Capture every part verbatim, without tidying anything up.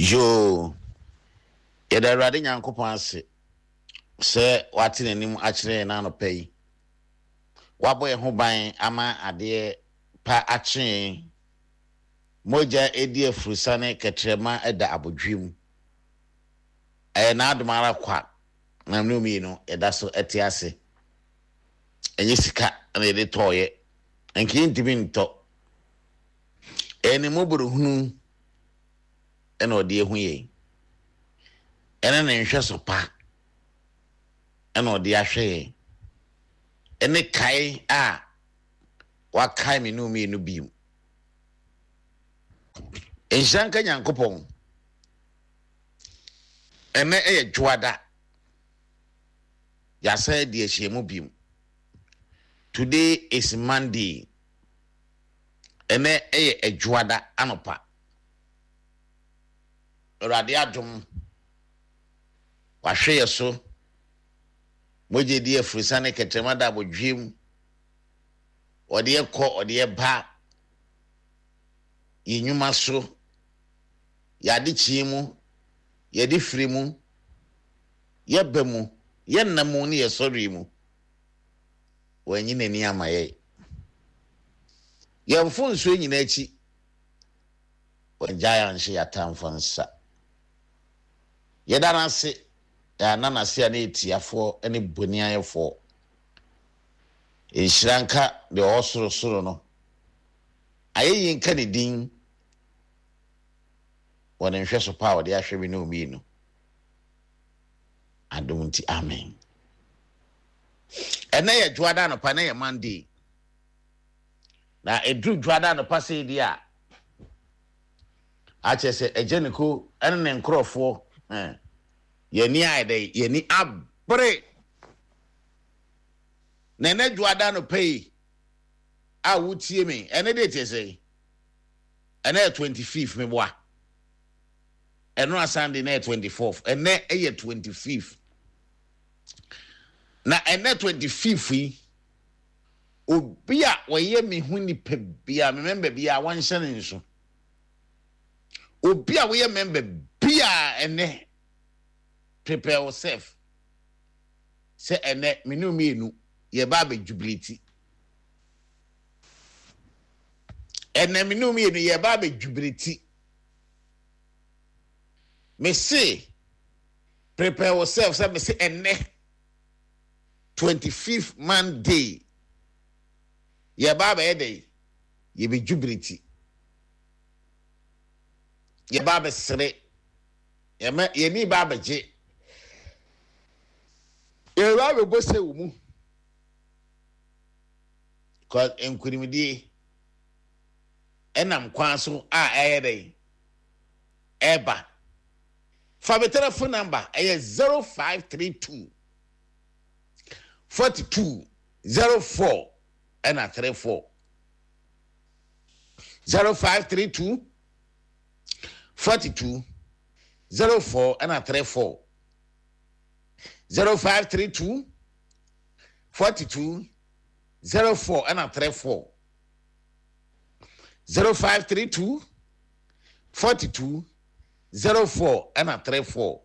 Yoo, yɛda Awurade Nyankopɔn ase sɛ wate n'anim akyerɛ yɛn anɔpa yi. Wabɔ yɛn ho ban ama adeɛ pa akye yɛn. Mogya edi afurusane kɛtrɛma da abodwe mu. Ɛyɛ n'adom ara kwa na mene mmienu yɛda so te ase. Ɛnyɛ sika na yɛde tɔɔyɛ. Nka yɛntumi ntɔ. Ɛyɛ ne mmɔborɔhunu ɛna ɔde ehu yɛn. Ɛne ne nhwɛso pa ɛna ɔde ahwɛ yɛn. Ɛne kae a wakae me ne mmienu bio. Nhyira nka Nyankopɔn. Ɛnɛ ɛyɛ dwoada. Yɛasan adi ahyiamu bio. Today is Monday. Ɛnɛ ɛyɛ adwoada anɔpa. Awurade adom wahwɛ yɛ so. Mogya di afurusane kɛtrɛma da abodwe mu. Ɔde yɛ kɔ, ɔde yɛ ba. Yɛn nnwuma so. Yɛade kyee mu. Yɛde firi mu. Yɛba mu. Yɛnna mu ne yɛsɔre mu. Wɔanyi n'ani ama yɛn. Yɛn mfonsuo nyinaa akyi. Wɔngyae anhyɛ yɛn atamfo nsa. Yɛda no ase. Yɛana n'ase a ne yɛtiafoɔ ne boniayɛfoɔ. Nhyira nka deɛ ɔwɔ sorosoro no. Ayɛyie nka ne din wɔ ne nhwɛso pa a ɔde ahwɛ me ne mmienu. Adom nti, amen. Ɛnɛ yɛ dwoada anɔpa, ɛnɛ yɛ Monday. Na ɛduru dwoada anɔpa sɛ di a, akyerɛ sɛ agya ne ko ɛne ne nkurɔfoɔ ɛn yɛni ayɛ dɛ yɛni abere. Na ɛnɛ dwoada anɔpa yi a wotie me, ɛnɛ de kyerɛ sɛ ɛnɛ yɛ twenty fifth meboa. Ɛno a Sunday na yɛ twenty fourth. Ɛnɛ ɛyɛ twenty fifth. Na ɛnɛ twenty fifth yi, obi a wɔyɛ me ho nipa bia, me member bia, wɔnhyɛ ne nso. Obi a wɔyɛ member bia ɛnɛ, prepare yourself. Sɛ ɛnɛ me ne mmienu yɛba abɛ jubilate. Ɛnɛ me ne mmienu yɛba abɛ jubilate. Me se prepare yourself sɛ me se ɛnɛ twenty fifth Monday yɛba abɛyɛ dɛ yɛbɛ jubilate. Yɛba abɛsere. Yɛmɛ yɛni ba abɛgye. Yɛba abɛbɔ sɛ wɔ mu. Cause nkunimdie ɛnam kwan so a ɛyɛ dɛ ɛba. Fa me telephone number ɛyɛ zero five three two forty two zero four ɛna three four zero five three two forty two zero four ɛna three four zero five three two forty two zero four ɛna three four zero five three two forty two zero four ɛna three four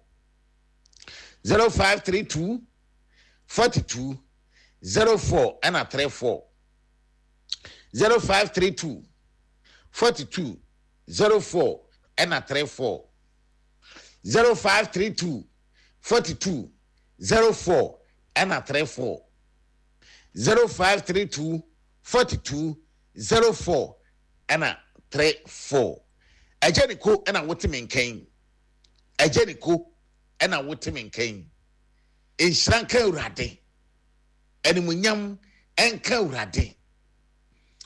zero five three two forty two zero four ɛna three four zero five three two forty two zero four ɛna three four zero five three two forty two zero four ɛna three four zero five three two forty two zero four ɛna three four. Ɛgya ne ko ɛna wote me nkan. Ɛgya ne ko ɛna wote me nkan. Nhyira nka Awurade. Animuonyam ɛnka Awurade.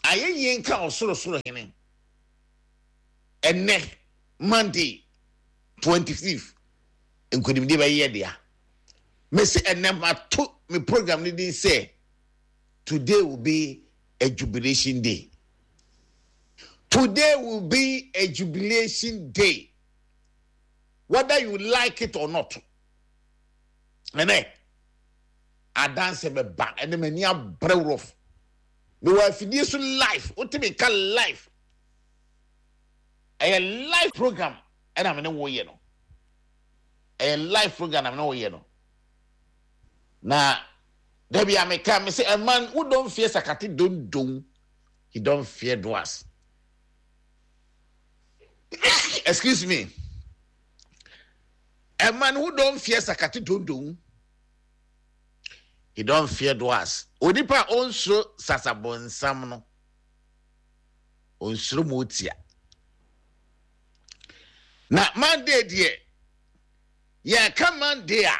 Ayɛyie nka ɔsorosoro hene. Ɛnɛ Monday twenty fifth nkonimdie bɛyɛ dea. Mesi ɛnɛ mato me program ne din sɛ today will be a jubilation day. Today will be a jubilation day. Whether you like it or not. Ɛnɛ adanse bɛba ɛnɛ m'ani abrɛ rough. Mewɔ afidie so live, wotumi nka live. Ɛyɛ live program Ɛna me ne wo yɛ no, ɛyɛ live program na me ne wo yɛ no. Na dabi a meka me sɛ, a man who don't fear sakate dondon, he don't fear dwarfs. Excuse me, a man who don't fear sakate dondon, he don't fear dwarfs. Onipa a onsuro sasabonsam no, onsuro motia. Na Monday deɛ, yɛka Monday a,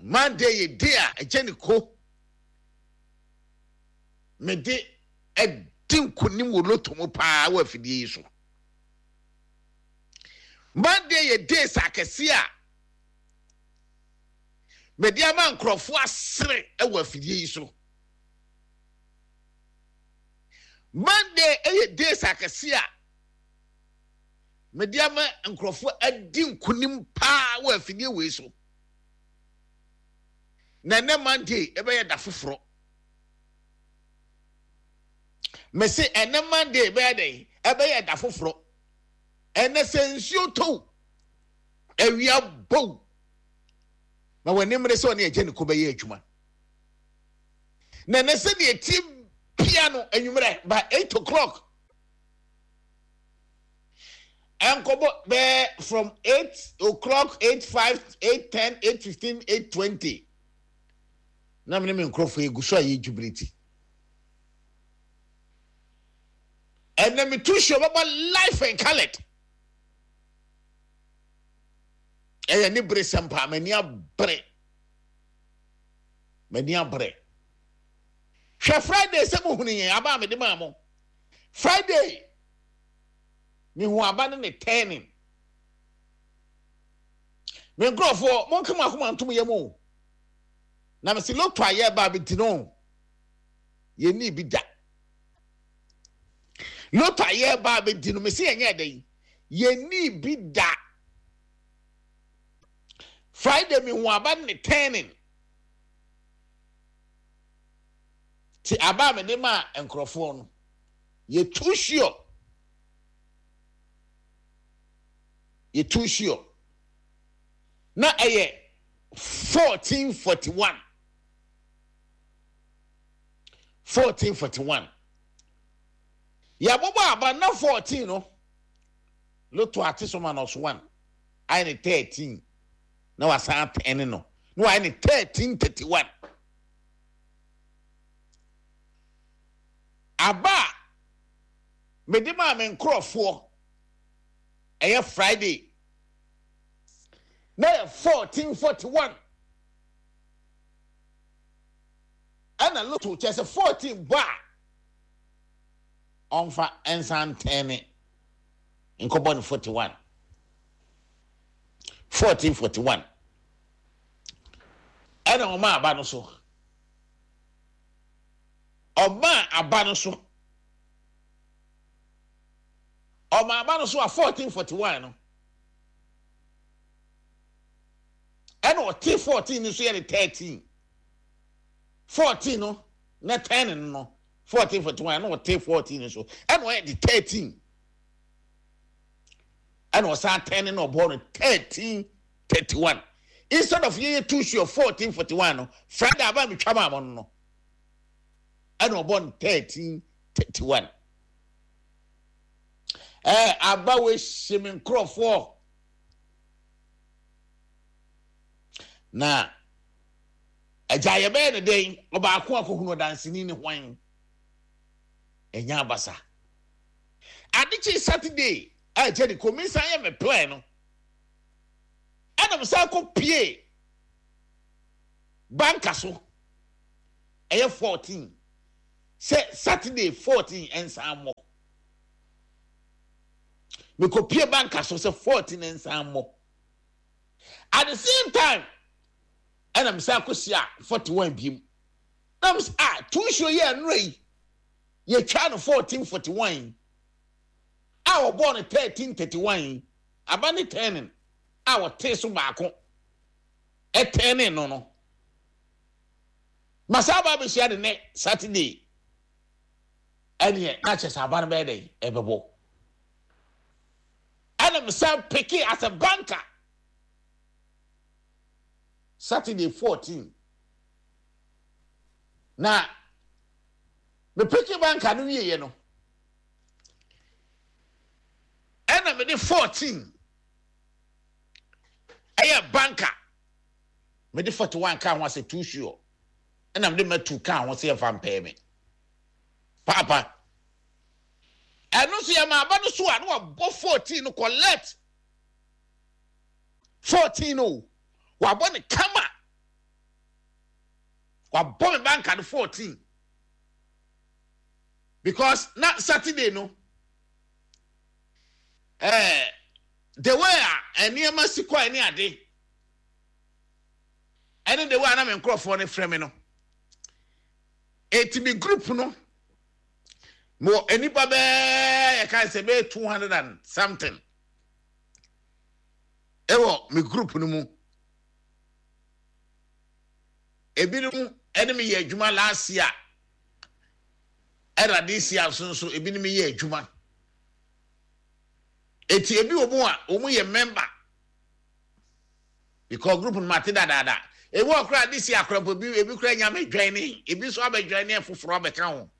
Monday yɛ day a ɛgye ne ko mede ɛdi nkonim wɔ lotto mu paa wɔ afidie yi so. Monday yɛ days akɛse a mede ama nkurɔfoɔ asere wɔ afidie yi so. Monday yɛ days akɛse a mede ama nkurɔfoɔ adi nkonim paa wɔ afidie wei so. Na ɛnɛ Monday ɛbɛyɛ da foforɔ. Mese ɛnɛ Monday ɛbɛyɛ dɛn? Ɛbɛyɛ da foforɔ. Ɛnɛ sɛ nsuo tɔw, awia bow, na wɔn anim sɛ ɔne ɛgye ne ko bɛyɛ adwuma. Na ɛnɛ sɛ deɛ tie pia no anwummerɛ by eight o'clock ɛnkɔbɔ bɛɛ, from eight o'clock, eight five, eight ten, eight fifteen, eight twenty, na mene me nkurɔfoɔ egu so a yɛ jubilate. Ɛnɛ me tu show bɛbɔ live and coloured. Ɛyɛ ne bere sɛm paa. M'ani abere, m'ani abere. Hwɛ, Friday sɛ mo hunu yɛn aba a mede maa mo Friday, mehu aba ne ne turning. Me nkurɔfoɔ, monka mo akoma ntom yɛ mu na mesi lotto a yɛba abɛdi no, yɛnni bi da. Lotto a yɛba abɛdi no, mesi yɛnyɛ dɛn? Yɛnni bi da. Friday mehu aba ne turning ti aba a mede maa nkurɔfoɔ no, yɛ too sure, yɛ too sure na ɛyɛ fourteen forty one, fourteen forty one. Yɛabobɔ aba na fourteen no, lotto ate so minus one ayɛ ne thirteen, na wasan atɛn no na wayɛ ne thirteen thirty one. Aba a mede maa me nkurɔfoɔ ɛyɛ Friday na yɛ fourteen forty one, ɛna lotto kyerɛ sɛ fourteen bɔ a, ɔmfa nsan ntɛn nkɔbɔ no forty one, fourteen forty one. Ɛna ɔma aba no so, ɔma aba no so, ɔma aba no so a fourteen forty one no, ɛna ɔte fourteen no so yɛ ne thirteen. Fourteen no na ten no no fourteen forty one, ɛna ɔte fourteen no so, ɛna ɔyɛ de thirteen, ɛna ɔsan ten no na ɔbɔ no thirteen thirty one. Instead of yɛyɛ two sure fourteen forty one no, Friday aba mi twa maa mo no no ɛna ɔbɔ no thirteen thirty one. Ɛɛ aba wo ehyɛ mi nkorɔfoɔ na agya yɛbɛyɛ ne den. Ɔbaako akɔhunu ɔdanseni ne hwan ɛnya abasa. Adekye Saturday a ɛkyɛ de komi san yɛ me plan no, ɛna mo san kɔ pie banka so ɛyɛ fourteen sɛ Saturday fourteen ɛnsan mmɔ. Mekɔ pie banka so sɛ fourteen ɛnsan mmɔ. At the same time, ɛna mo san kɔ si a forty one biem na mo sɛ, ah, two show yɛ ɛnura yi, yɛtwa no fourteen forty one a, wɔbɔɔ no thirteen thirty one. Aba ne turning a wɔtee so baako ɛtɛne no no masa aba abɛhyia de ne Saturday, ɛneɛ na kyerɛ sɛ aba no bɛyɛ dɛn? Ɛbɛbɔ. Ɛna Ɛna mesan pick as a banker Saturday fourteen. Na me pick banker no wieɛ no, ɛna mede fourteen ɛyɛ banker, mede forty one ka ho asɛ too sure, ɛna mede matu ka ho sɛ yɛmfa mpɛɛ me paapa. Ɛno nso yɛ maaba no so a, na wabɔ fourteen no collect fourteen no, wabɔ ne kama, wabɔ me banker no fourteen, because na Saturday no, ɛɛ the way a nneɛma si kɔ ɛne ade ɛne the way a na me nkurɔfoɔ no frɛ me no, eti mi group no mo nipa bɛɛ yɛ ka sɛ bɛyɛ two hundred and something ɛwɔ mi group no mu. Ebinom ɛne mi yɛ adwuma last year, ɛna this year nso nso ebinom yɛ adwuma. Eti ebi wɔ mu a wɔn yɛ member because group no ma te dadaada. Ebi wɔ koraa this year akora mpo, ebi ebi koraa nya abɛdwan ne ebi nso abɛdwan ne foforɔ abɛka ho.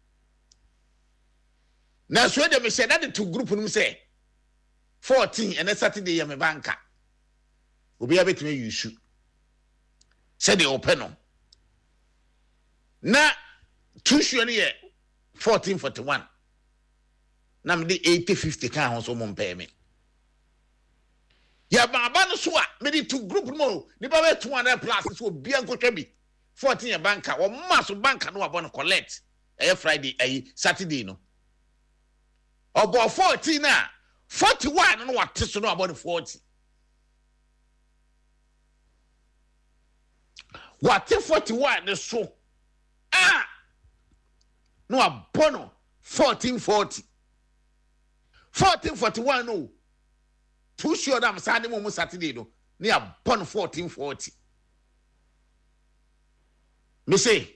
Na so de mehyɛ dade to group no mu sɛ fourteen ɛnɛ Saturday yɛ me banker, obiara bɛtumi ayi su sɛdeɛ ɔpɛ no. Na too sure no yɛ fourteen forty one, na mede eighty fifty ka ho so mo mpɛɛ me. Yɛma aba no so a, mede to group no mu, nipa bɛ two hundred plus so obiara nkotwa bi. Fourteen yɛ banker, wɔma so banker no, wabɔ no collect. Ɛyɛ Friday, ɛyi Saturday no, ɔbɔ fourteen a forty one no, wate so no, wabɔ no forty, wate forty one ne so a na wabɔ no fourteen forty, fourteen forty one no. Too sure na saa ne mu mu Saturday no ne yabɔ no fourteen forty. Mese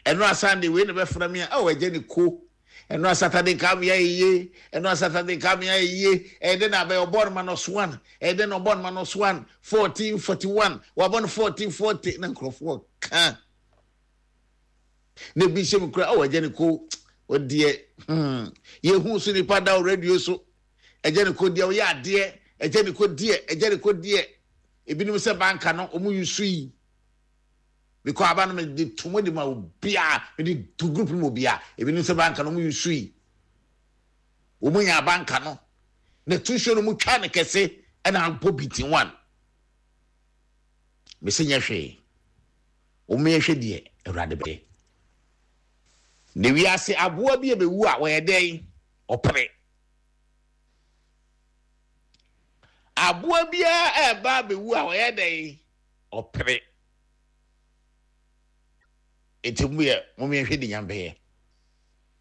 ɛno a Sunday wei na bɛfra mi a, ɛwɔ ɛgye ne ko. Ɛno a Saturday nka mi ayɛ yie, ɛno a Saturday nka mi ayɛ yie. Ɛyɛ de na abɛyɛ ɔbɔ no minus one, ɛyɛ de na ɔbɔ no minus one, fourteen forty one, wabɔ no fourteen forty. Na nkurɔfoɔ ka na ebi hyɛ mu kura, ɛwɔ ɛgye ne ko ɔdeɛ hmm yehu so nipa da wɔ radio so. Ɛgye ne ko deɛ, ɔyɛ adeɛ. Ɛgye ne ko deɛ, ɛgye ne ko deɛ. Ebinom sɛ banker no ɔmo yi so yi because aba no mede to mo de ma obiara, mede to group no mu obiara. Ebinom sɛ banker no ɔmo yi so yi, wɔn nya banker no na tusuo no mu twa ne kɛse ɛna abɔ beating one. Mesi nyɛ hwee, wɔn yɛ hwɛ deɛ Awurade bɛyɛ na wiase. Aboa bi a bɛwu a wɔyɛ dɛn ɔpere aboa biara ɛɛba abɛwu a wɔyɛ dɛn ɔpere. Eti mu yɛ mo yɛ hwɛ de nyam bɛyɛ.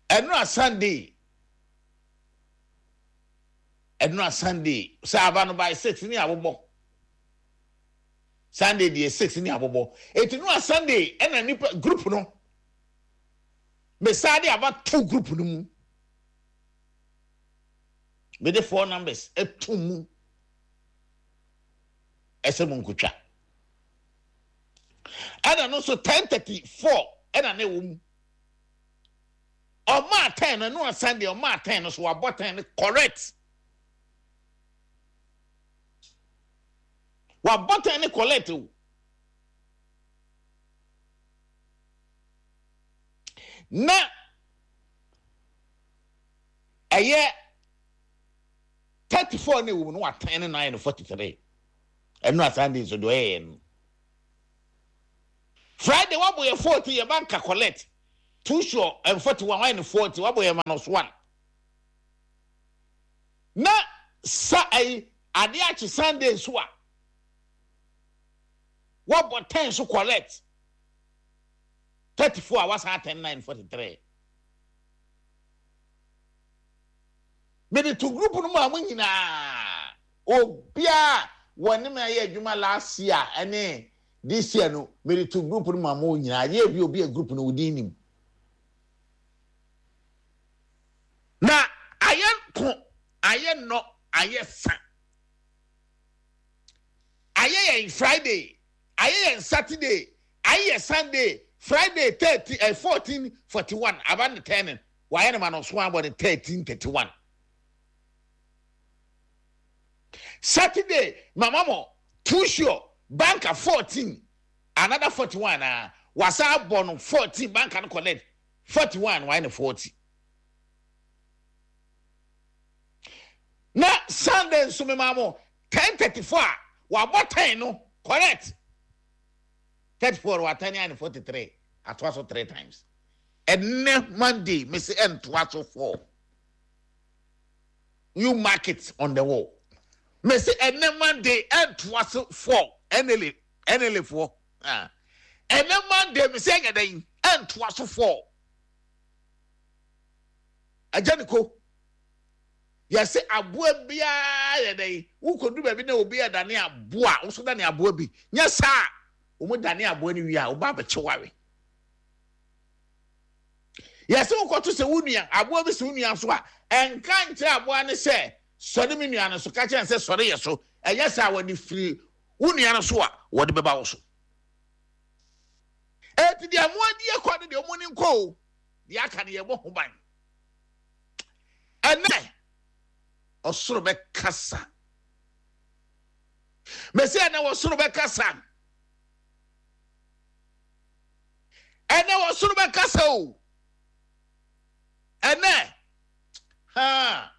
Ɛno a Sunday, ɛno a Sunday sɛ aba no by six ne abobɔ. Sunday deɛ, six ne abobɔ. Eti no a Sunday ɛna nipa group no mesaa de aba to group no mu, mede four numbers ɛto mu ɛsɛ mu nkotwa. Ɛna no nso ten thirty four ɛna ne wɔ mu. Ɔmaa ten no, ɛno a Sunday ɔmaa ten no so, wabɔ ten no correct, wabɔ ten no correct o. Na ɛyɛ thirty four ne wɔ mu no, watɛn ne nine no forty three. Ɛno a Sunday nso deɛ ɔyɛ yɛ no, Friday wabɔ yɛ forty, yɛ banker collect. Too sure and forty one wayɛ no forty, wabɔ yɛ minus one. Na sa ɛyi adeɛ akye Sunday nso a, wabɔ ten so collect, thirty four a wasan ten nine forty three. Mede to group no mu a mo nyinaa obiara wɔne me ayɛ adwuma last year ɛne this year no, mede to group no mu a mo nyinaa yɛ bi obi a group no wodi nim na ayɛ ko ayɛ nnɔ. Ayɛ sa, ayɛ yɛn Friday, ayɛ yɛn Saturday, ayɛ yɛn Sunday. Friday thirty ɛ fourteen forty one aba ne ten, wayɛ ne ma no so abɔ ne thirteen thirty one. Saturday mama mo too sure banker fourteen, another forty one na wasa abɔ no fourteen. Banker no collect forty one, wayɛ ne forty. Na Sunday nso mema mo ten thirty four a wabɔ ten no correct, thirty four watani ayɛ ne forty three, atoa so three times. Ɛnɛ Monday mesi ɛntoa so four. You mark it on the wall. Mesi ɛnɛ Monday ɛntoa so four. N L A N L A foɔ, ah, ɛnɛ Monday mesi ɛnyɛ dɛ ɛntoa so four. Agya ne ko yɛsɛ aboa biara yɛ dɛ wokɔdu baabi na obi yɛ dane aboa, nso dane aboa bi nyɛ saa, wɔn dane aboa no wie a, wɔba abɛkye ware. Yɛsɛ wokɔto sɛ wo nua aboa bi sɛ wo nua so a, ɛnka nkyerɛ aboa no sɛ sɔre me nua no so, ka kyerɛ no sɛ sɔre yɛ so. Ɛnyɛ saa, wɔde firi wo nua no so a, wɔde bɛba wo so. Eti deɛ mo adi akɔ no deɛ, ɔmo ni nkɔ o. Deɛ aka no, yɛbɔ ho ban. Ɛnɛ ɔsoro bɛkasa. Mɛsi ɛnɛ ɔsoro bɛkasa, ɛnɛ ɔsoro bɛkasa o. Ɛnɛ ha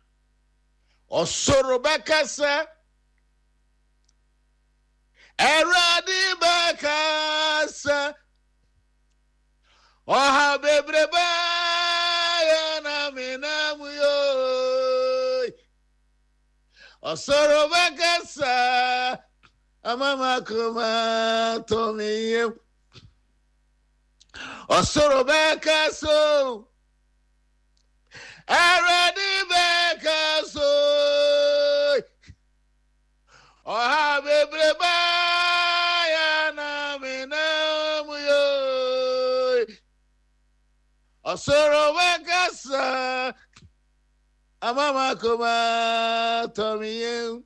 ɔsoro bɛkasa, Awurade bɛkasa. Ɔha bebrebe yɛ na menam yo, ɔsoro bɛkasa ama makoma tɔ me yam. Ɔsoro bɛkasa o, Awurade bɛkasa o. Ɔha bebrebe yɛ na menam yo, ɔsoro bɛkasa ama makoma tɔ me yam.